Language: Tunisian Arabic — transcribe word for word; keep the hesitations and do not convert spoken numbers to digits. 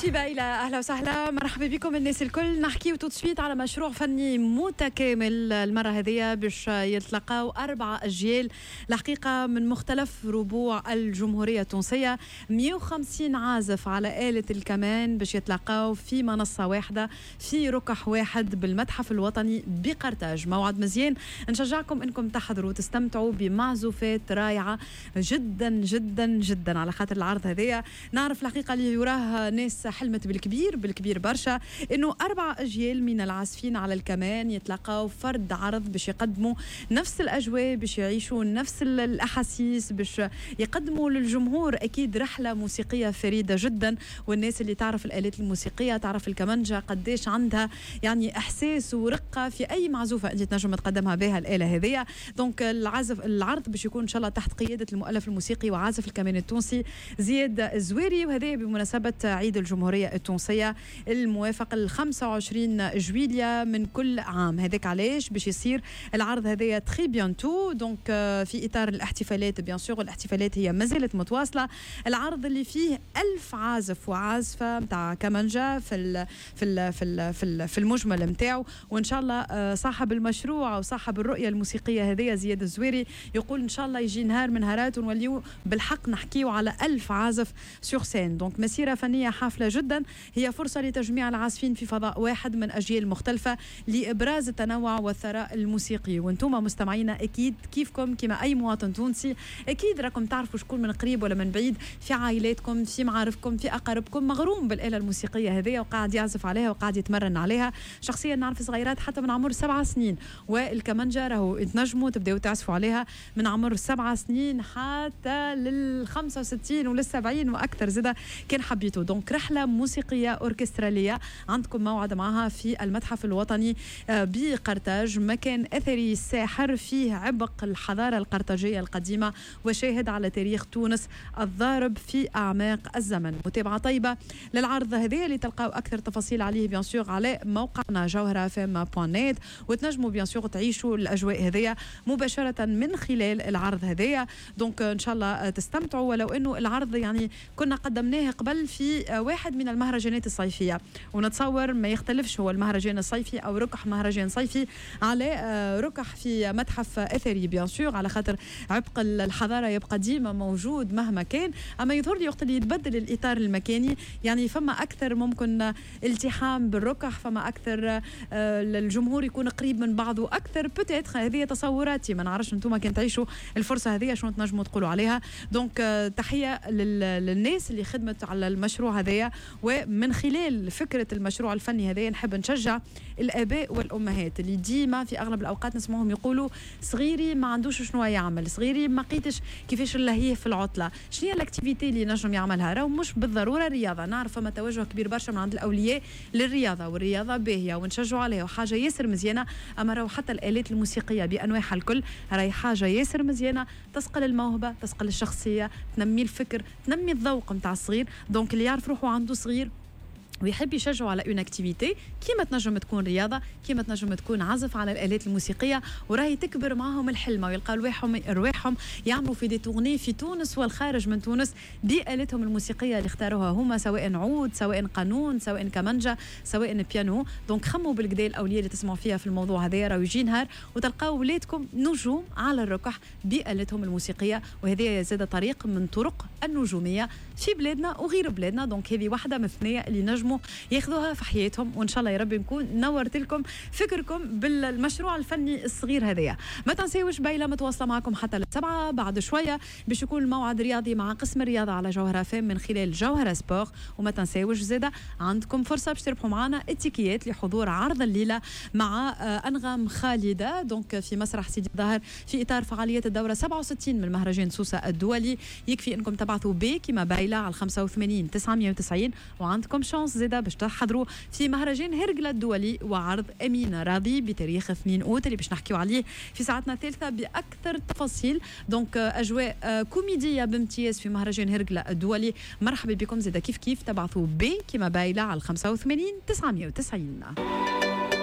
في بايلة، اهلا وسهلا، مرحبا بكم الناس الكل. نحكيو tout de suite على مشروع فني متكامل. المرة هذه باش يتلقاو اربع اجيال الحقيقة من مختلف ربوع الجمهورية التونسيه، مية وخمسين عازف على آلة الكمان باش يتلقاو في منصة واحدة في ركح واحد بالمتحف الوطني بقرطاج. موعد مزيان، نشجعكم انكم تحضروا وتستمتعوا بمعزوفات رائعة جدا جدا جدا، على خاطر العرض هذايا نعرف الحقيقة اللي وراه ناس حلمت بالكبير، بالكبير برشا، انه اربع اجيال من العازفين على الكمان يتلاقاو فرد عرض باش يقدموا نفس الاجواء، باش يعيشوا نفس الاحاسيس، باش يقدموا للجمهور اكيد رحله موسيقية فريدة جدا. والناس اللي تعرف الالات الموسيقية تعرف الكمانجا قديش عندها يعني احساس ورقة في اي معزوفه انت تنجم تقدمها بها الاله هذيا. donc العزف العرض باش يكون ان شاء الله تحت قيادة المؤلف الموسيقي وعازف الكمان التونسي زياد الزويري، وهذا بمناسبة عيد الجمهورية التونسية الموافق ال خمسة وعشرين جويليا من كل عام. هذاك علاش باش يصير العرض هذايا très bientôt، donc في اطار الاحتفالات bien sûr، الاحتفالات هي ما زالت متواصله. العرض اللي فيه ألف عازف وعازفه نتاع كمانجا في ال في ال في ال في, ال في المجمل نتاعو. وان شاء الله آه، صاحب المشروع وصاحب الرؤية الموسيقية هذه زياد الزويري يقول ان شاء الله يجي نهار من نهارات ونوليو بالحق نحكيو على ألف عازف sur scène. donc مسيره فنية حافلة جدا، هي فرصة لتجميع العازفين في فضاء واحد من اجيال مختلفة لابراز التنوع والثراء الموسيقي. وانتم مستمعينا اكيد كيفكم كما اي مواطن تونسي، اكيد راكم تعرفوا شكون من قريب ولا من بعيد في عائلاتكم، في معارفكم، في اقاربكم، مغروم بالاله الموسيقية هذه وقاعد يعزف عليها وقاعد يتمرن عليها. شخصيا نعرف صغيرات حتى من عمر سبع سنين، والكمانجا راهو تنجموا تبداو تعزفوا عليها من عمر سبع سنين حتى لل خمسة وستين ولل سبعين واكثر زاده كان حبيتوا. donc رحله موسيقية اوركستراليه عندكم موعد معها في المتحف الوطني آه، بقرطاج، مكان اثري ساحر فيه عبق الحضارة القرطاجيه القديمة وشاهد على تاريخ تونس الضارب في اعماق الزمن. متابعه طيبة للعرض هذا اللي تلقاو اكثر تفاصيل عليه bien sûr على موقعنا جوهره FM point net، وتنجموا bien sûr تعيشوا الاجواء هذيا مباشرة من خلال العرض هذايا. donc ان شاء الله تستمتعوا، ولو انه العرض يعني كنا قدمناه قبل في واحد من المهرجانات الصيفيه، ونتصور ما يختلفش هو المهرجان الصيفي او ركح مهرجان صيفي على ركح في متحف اثري bien sûr، على خاطر عبق الحضارة يبقى ديما موجود مهما كان. اما يظهر لي وقت اللي يتبدل الاطار المكاني يعني فما اكثر ممكن التحام بالركح، فما اكثر آه، الجمهور يكون قريب من بعضه اكثر peut-être. هذه تصوراتي، ما نعرفش انتم كان تعيشوا الفرصة هذه شنو تنجموا تقولوا عليها. donc آه، تحية للناس اللي خدمت على المشروع هذايا، ومن خلال فكرة المشروع الفني هذايا نحب نشجع الاباء والامهات اللي ديما في اغلب الاوقات نسمعهم يقولوا صغيري ما عندوش شنو يعمل، صغيري ما لقيتش كيفاش نلهيه في العطله، شنو هي l'activité اللي نجم يعملها؟ راهو مش بالضرورة رياضه. نعرف فما توجه كبير برشا من عند الاولياء للرياضه، والرياضة باهيه ونشجعوا عليها وحاجه ياسر مزيانه، اما راهو حتى الالات الموسيقية بانواعها الكل راهي حاجة ياسر مزيانه، تصقل الموهبه، تصقل الشخصيه، تنمي الفكر، تنمي الذوق نتاع الصغير. donc اللي يعرف روحه عنده صغير ويحب يشجعوا على une activité، كيما تنجم تكون رياضه، كيما تنجم تكون عزف على الالات الموسيقيه، وراهي تكبر معاهم الحلمة ويلقاو رواحهم رواحهم يعملوا في des tournées في تونس والخارج من تونس بآلتهم الموسيقية اللي اختاروها هما، سواء عود، سواء قانون، سواء كمانجا، سواء بيانو. donc خموا بالقدا الاولياء اللي تسمعوا فيها في الموضوع هذا، راهو يجي نهار وتلقاو ولادكم نجوم على الركح بآلتهم الموسيقيه، وهذه زاد طريق من طرق النجومية في بلادنا وغير بلادنا. donc هذه واحدة من الثنايا اللي نجموا ياخذوها في حياتهم، وان شاء الله يا ربي نكون نورت لكم فكركم بالمشروع الفني الصغير هذايا. ما تنسيوش بايله متواصلة معكم حتى للسبعه. بعد شوية باش يكون الموعد رياضي مع قسم الرياضة على جوهره F M من خلال جوهره Sport. وما تنساوش زاده عندكم فرصة باش تربحوا معنا التيكيات لحضور عرض الليلة مع آه، انغام خالده، donc في مسرح سيدي الظاهر في اطار فعاليات الدورة سبعة وستين من مهرجان سوسة الدولي. يكفي انكم تبعثوا B كما بايله على خمسة وثمانين تسعمية وتسعين، وعندكم chance زاده باش تحضروا في مهرجان هرقلة الدولي وعرض أمينة راضي بتاريخ اثنين أوت اللي باش نحكيو عليه في ساعتنا الثالثة بأكثر تفاصيل. donc أجواء آه، كوميدية بامتياز في مهرجان هرقلة الدولي. مرحبا بكم زاده كيف كيف تبعثوا B كما بايلة على خمسة وثمانين تسعمية وتسعين.